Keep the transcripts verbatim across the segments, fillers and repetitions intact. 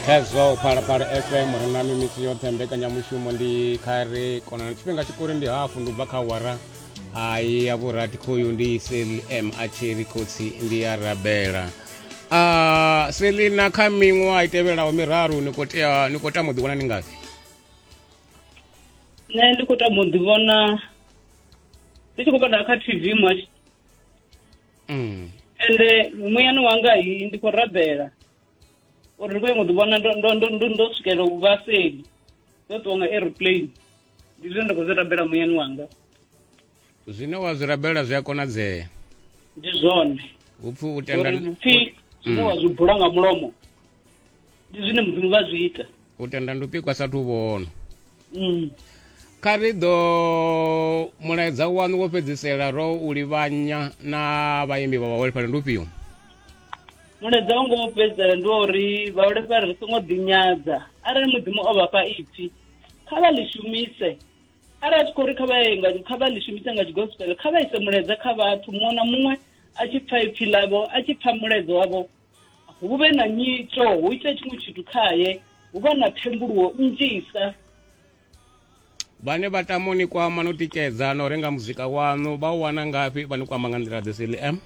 Khezwo Phalaphala F M ri na mimisi yoṱhe, mbekanyamushumo ndi kha ri konana. Tshifhinga tshikuri ndi hafu ndi u bva kha awara ai ya vhurathi. Khoyu ndi Seli M a tshi ri khotsi ndi ya rabela. Uh, Selina, kha miṅwaha i tevhelaho miraru ni khou tea ni khou tama u ḓivhona ni ngafhi? Nṋe ndi khou tama u ḓivhona ndi tshi khou vhona kha T V much. Mm. Ende muyani wanga hi ndi khou rabela uri ndi khou nyanga u ḓivhona ndo ndo ndo ndo ndo swikela u vha seli, ndo ṱuwa nga aeroplane. Ndi zwine nda khou zwi rabela muyani wanga. Zwine wa zwi rabela zwi a konadzea. Ndi zwone. Upfi u tenda uri pfi zwine wa zwi bula nga mulomo ndi zwine Mudzimu vha zwi ita. U tenda ndi u pikwa sathu vhona. Mm. Kha ri ḓo mulaedza waṋu wo fhedzisela ro u livhanya na vhaimbi vha vhaholefhali ndi ufhio? Mulaedza wanga wo fhedzisela ndi wa uri vhaholefhali ri songo ḓinyadza. Arali Mudzimu o vha fha ipfi, kha vha ḽi shumise. Arali a tshi khou ri kha vha ye nga kha vha ḽi shumise nga tshigospel, kha vha ise mulaedza kha vhathu, muṅwe na muṅwe a tshi pfa ipfi ḽavho, a tshi pfa mulaedza wavho, hu vhe na nyito, hu ite tshiṅwe tshithu khaye, hu vha na thembuluwo nnzhisa. Vhane vha tama u ni kwama no tikedza na u renga muzika waṋu vha u wana ngafhi? Vha ni kwama nga nḓila ḓe, Seli M?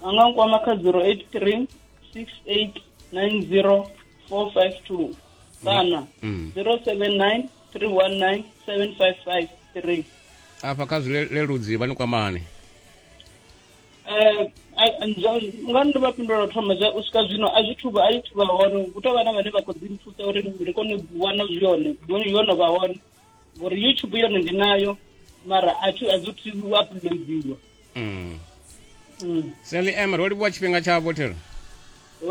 Vha nga nkwama kha zero eight three six eight nine zero four five two kana Mm. zero seven nine three one nine seven five five three. Afha kha zwileludzi vha ni kwamani? Eh, nga ndo vha fhindula u thoma zwa u swika zwino a zwi thuvha a zwi thuvha hone, hu tou vha na vhane vha khou ḓi nthusa uri ndi kone u wana zwi yone yo no vha hone, ngori YouTube yone ndi nayo mara a thi a zwi thu uploadiwa. Mm. Mm. Seli M, ro livhuwa tshifhinga tshavho thero.